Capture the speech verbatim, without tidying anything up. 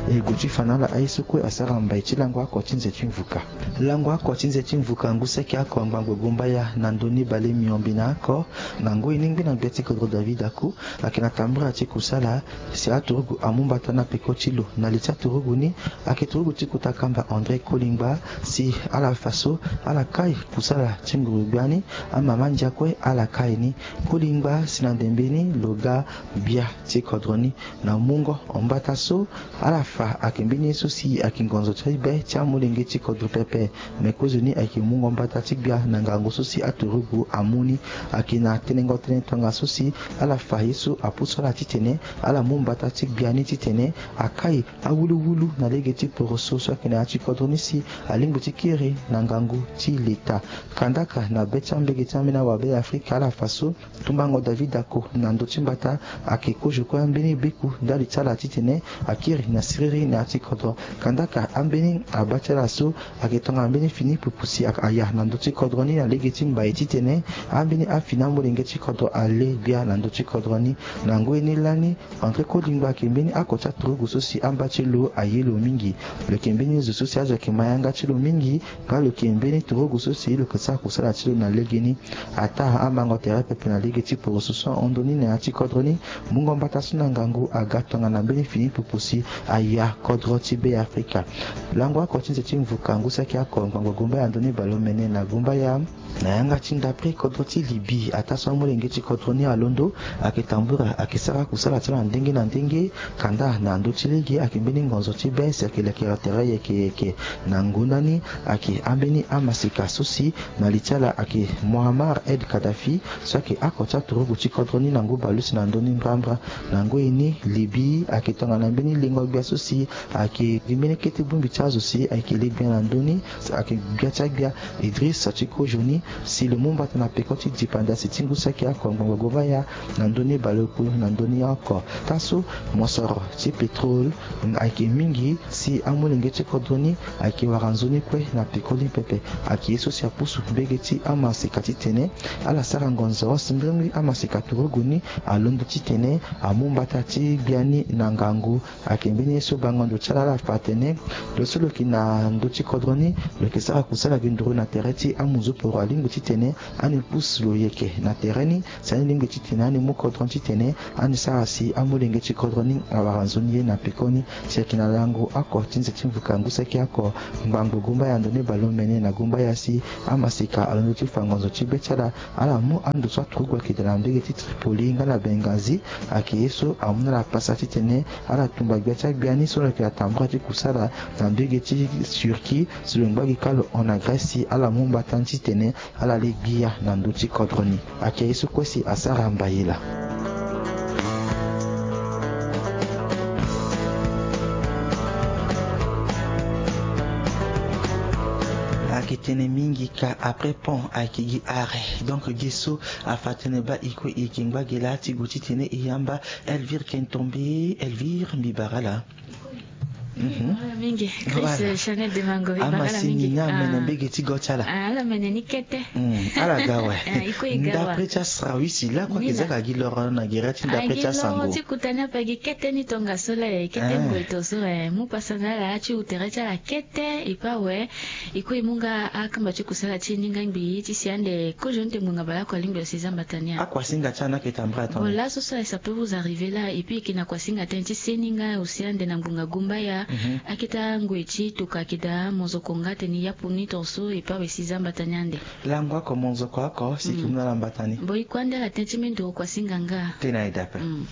E gue ti fa na ala aye so kue asara mbai ti lango oko ti nze ti mvuka. Lango oko ti nze ti mvuka ngu saki oko ngbangbo gumbaya na ndoni bale miombe na oko. Na ngoi ni ngbi na gbia ti kodro David Aku ayeke na tambula ti kusala si aturugu amu mbata na peko ti lo. Na li ti aturugu ni ayeke turugu ti kota kamba André Kolingba, si ala fa so ala kai kusala ti nguru gbia ni. Amama ndia kue ala kai ni. Kolingba si na ndembe ni lo ga gbia ti kodro ni na mungo mbata so ala fa ayeke mbeni ye so si ayeke ngonzo ti be ti amolenge ti kodro pepe. Me kozoni ayeke mungo mbata ti gbia na ngangu so si aturugu amu ni. Ayeke na tenengo tënë tongaso si ala fa ye so apusu ala titene ala mu mbata ti gbia ni titene akai awuluwulu na lege ti poroso so ayeke na ya ti kodro ni si alingbi ti kiri na ngangu ti leta. Kandaka na be ti ambege ti ambeni awabe Afrika ala fa so tumbango David Ako na ndö ti mbata ayeke kozo kue ambeni beku ndali ti ala titene akiri na siriri na ya ti kodro. Kandaka ambeni aba ti ala so ayeke tongana mbeni fini pupu si aya na ndö ti kodro ni na lege ti mbai titene ambeni afini amolenge ti kodro ale gbia na ndö ti kodro ni. Na ngoi ni lani André Kolingba ayeke mbeni oko ti aturugu so si amba ti lo aye lo mingi. Lo yeke mbeni zo so si azo ayeke ma yanga ti lo mingi. Nga lo yeke mbeni turugu so si lo yeke sara kusala ti lo na legeni. Ataa amango tere pepe na lege ti poroso so ahon ndoni na ya ti kodro ni. Mungo mbata so na ngangu aga tongana mbeni fini pupu si aya kodro ti Be Afrika. Lango oko ti nze ti mvuka ngu saki oko ngbangbo gumbaya ndoni baleomene na gumbaya. Na yanga ti ndapre kodro ti Libye ataa so amolenge ti kodro ni alondo ayeke tambula ayeke sara kusala ti ala na ndenge na ndenge. Kanda na ndö ti lege ayeke mbeni ngonzo ti be si ayeke lekere tere yeke yeke. Na ngonda ni ayeke ambeni amaseka so si na li ti ala ayeke Muammar El Kadhafi so ayeke oko ti aturugu ti kodro ni na ngu baleuse na ndö ni mbrambra. Na ngoi ni Libye ayeke tongana mbeni lengo gbia so si ayeke gi mbeni kete bongbi ti azo si ayeke le gbia na ndö ni. Ayeke gbia ti agbia Idriss ti kozo ni si lo mu mbata na peko ti dipanda si ti ngu saki oko ngbangbo gumbaya na ndö ni baleoku na ndö ni oko. Taa so mosoro ti pétrole ayeke mingi si amolenge ti kodro ni ayeke wara nzoni kue na peko ni pepe. Ayeke ye so si apusu mbege ti amaseka titene ala sara ngonzo si mbirimbiri amaseka turugu ni alondo titene amu mbata ti gbia ni na ngangu. Ayeke mbeni ye so bango ndo ti ala ala fa atene lo so lo yeke na ndö ti kodro ni lo yeke sara kusala gi nduru na tere ti amuzuporo alingbi titene ani pusu lo yeke na tere ni si ani lingbi titene ani mu kodro ni titene ani sara si amolenge ti kodro ni awara nzoni ye na peko ni. Si ayeke na lango oko ti nze ti mvuka ngu saki oko ngbangbo gumbaya ndoni baleomene na gumbaya si amaseka alondo ti fa ngonzo ti be ti ala. Ala mu ando so aturugu ayeke daa na mbege ti Tripoli nga na Benghazi. Ayeke ye so amu na ala pasa titene ala tumba gbia ti agbia ni so lo yeke na tambula ti kusala na mbege ti Turquie si lo ngba gi kâ lo hon na Grèce si ala mu mbata ni titene ala le gbia na ndö ti kodro ni. Ayeke ye so kue si asara mbayela. Ayeke tene mingi ka après pont ayeke gi arrêt. Donc gi so afa tene baa e kue e yeke ngba gi laa ti gue titene e yamba Elvire Kentombe. Elvire, mbi bara ala. Mhm. Mingi. Voilà. Chris, Chanel Demango, e bara ala mingi. Ni amene mbege ti go ti ala. Ah, ala mene ni kete. Mm, ala ga awe. Ah, e kue e ga awe. Ndapre ti asara wisi lakue ayeke za ka gi loro na gere ti ndapre ti asango. Ti kota ni ape gi kete ni tongaso la e, kete ngoto so e, mu pasa na ala ti hu tere ti ala kete e pe awe. E kue e mu nga akamba ti kusala ti e ni nga ngbii ti si ande kozo ni te ngbonga baleoko alingbi lo si za mbata ni a. Akuasinga ti ala ni ayeke tambula tongana nyen? Bon, laso so e, ça peut vous arriver là, et puis e yeke na kuasinga tënë ti seni nga aussi ande na ngbonga gumbaya. Mhm. Akete angoi ti tokua ayeke daa monzoko nga atene yapu ni tongaso e pe awe si za mbata ni ande. Lango oko monzoko oko si e yeke mu na ala mbata ni. Bon, e kue ande ala tënë ti mendoro kuasinga nga. Tënë aye daa ape. Mm.